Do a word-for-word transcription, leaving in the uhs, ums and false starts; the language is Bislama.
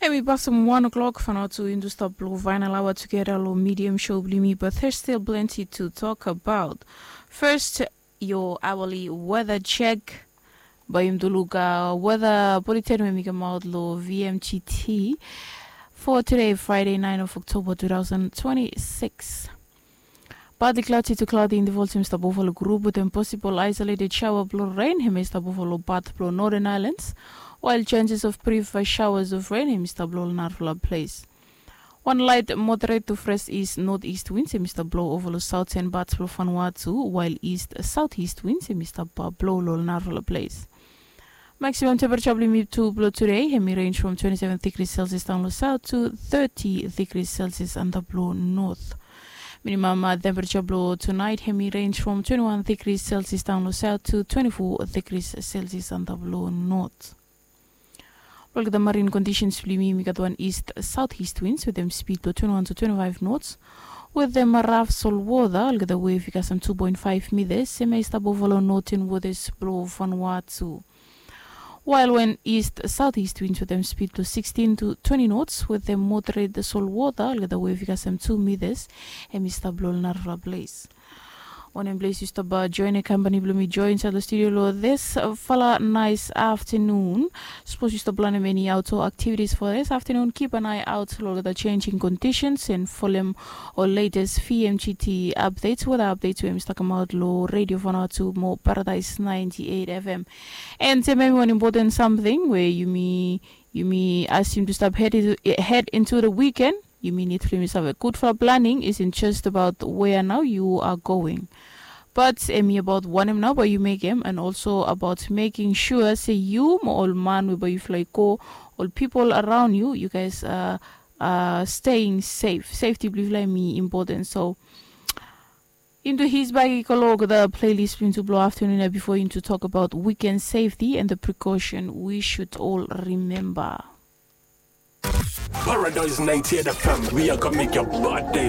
Em i pasim wan o'clock fanua tu yumi tu stap long final hour tugeta long medium show bilong yumi, but there's still plenty to talk about. First, your hourly weather check. Bai yumi tu luk weather bulletin we mi kamaut long V M G T for today, Friday, nine of October two thousand twenty-six. Partly cloudy to cloudy intervals em i stap ova long group wetem possible isolated shower bilong rain em i stap ova long part bilong Northern Islands, while chances of brief showers of rain em i stap long narafala ples. Wan light moderate to fresh east northeast winds em i stap blow ova long southern parts bilong Vanuatu, while east southeast winds em i stap blow long narafala ples. Maximum temperature bilong yumi tu bilong today em i range from twenty-seven degrees Celsius daun long south to thirty degrees Celsius antap long north. Minimum temperature bilong tonight em i range from twenty-one degrees Celsius daun long south to twenty-four degrees Celsius antap long north. Olgeta marine conditions bilong yumi, yumi gat wan east southeast winds wetem speed bilong twenty-one to twenty-five knots, wetem raf solwota olgeta wave i kasem two point five meters em i stap ova long northern waters bilong Vanuatu. While when east southeast winds wetem speed bilong sixteen to twenty knots wetem moderate solwota olgeta wave i kasem two meters em i stap long narafala ples. Wanem ples yu stap join e company bilong mi join inside long studio long this fala nice afternoon. Suppose yu stap planem any outdoor activities for this afternoon, keep an eye out long the changing conditions and folem ol latest V M G T updates, weather updates we mi stap kamaut long Radio Vanuatu mo Paradise ninety-eight F M. And se memi wan important something we yumi yumi asim tu stap head into, head into the weekend. Yumi need for yumi save gudfala planning isn't just about where now you are going, but em i about wanem nau bai yu mekim and also about making sure se yu mo ol man we bai yufala i go, ol people around you, you guys are, are staying safe. Safety bilong yufala em i important. So into his bag i go long the playlist bilong tu bilong afternoon ya before into talk about weekend safety and the precaution we should all remember. Paradise ninety-eight F M, we are gonna make your birthday